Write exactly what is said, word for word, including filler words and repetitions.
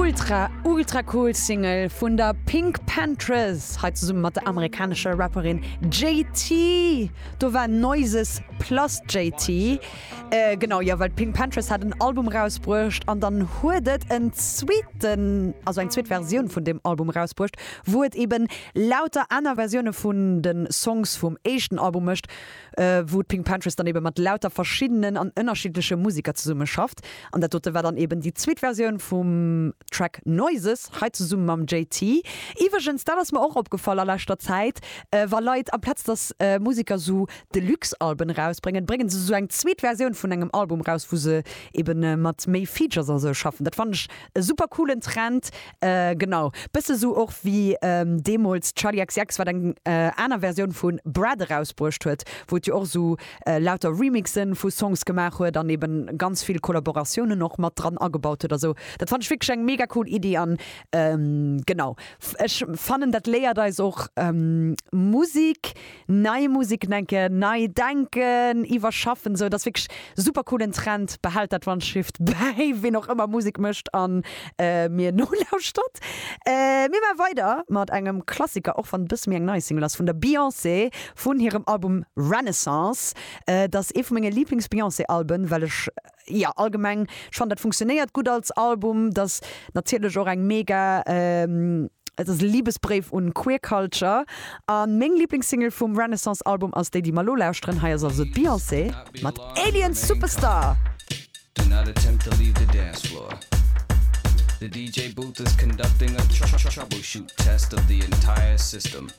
ultra ultra cool Single vun der PinkPantheress, hei zesumme mat der amerikanescher Rapperin J T. Do war Noises plus J T. Äh, genau, jo, well d'PinkPantheress hat en Album rausbruecht an dann huet et en zweeten, also eng zweet Versioun vun deem Album rausbruecht, wou et eben lauter aner Versioune vun de Songs vum éischten Album mécht, äh, wou d'PinkPantheress dann eben mat lauter verschiddenen an ënnerschiddleche Museker zesummeschafft. An dat dote war dann eben déi zweet Versioun vum Track Noises, hei zesumme mam J T. Iwwregens, dat ass mir och opgefall a leschter Zäit, äh, wa Leit amplaz dass äh, Museker sou Deluxe-Alben rausbréngen, brénge se sou eng zweet Versioun vun engem Album raus, wou se eben äh, mat méi Features a sou schaffen. Dat fannen ech e super coolen Trend. Äh, genau. Bësse sou och wéi ähm, deemools Charli X C X, wat eng äh, aner Versioun vu Brat erausbruecht huet, wou et jo och sou äh, lauter Remixen vu Songs gemaach huet, dann eben ganz vill Kollaboratiounen och mat dran agebaut huet. Also dat fannen ech wierklech eng mega cool Iddi an ähm, genau. Ech fannen, dat léiert eis och ähm, Musek, nei Musek denken, nei denken, iwwerschaffen, sou dat ass wierklech super coolen Trend. Behält dat wann et bäi, wien och ëmmer Musek mécht an äh, mir nolauschtert. Äh, mir maache weider mat engem Klassiker, och wann et bësse méi eng nei Single ass, vun der Beyoncé vun hirem Album Renaissance. Äh, dat ass ee vu menge Lieblings-Beyoncé-Alben, well ech jo allgemeng schonn dat funktionéiert gutt als Album, dat ass natierlech och eng mega ähm, et ass e Libesbréif un Queer Culture. An meng Lieblingssingle vum Renaissance Album ass déi, déi mer lo lauschteren. Hei ass also d'Beyoncé mat Alien Superstar. Do not attempt to leave the dance floor. The D J booth is conducting a tr- tr- troubleshoot test of the entire system.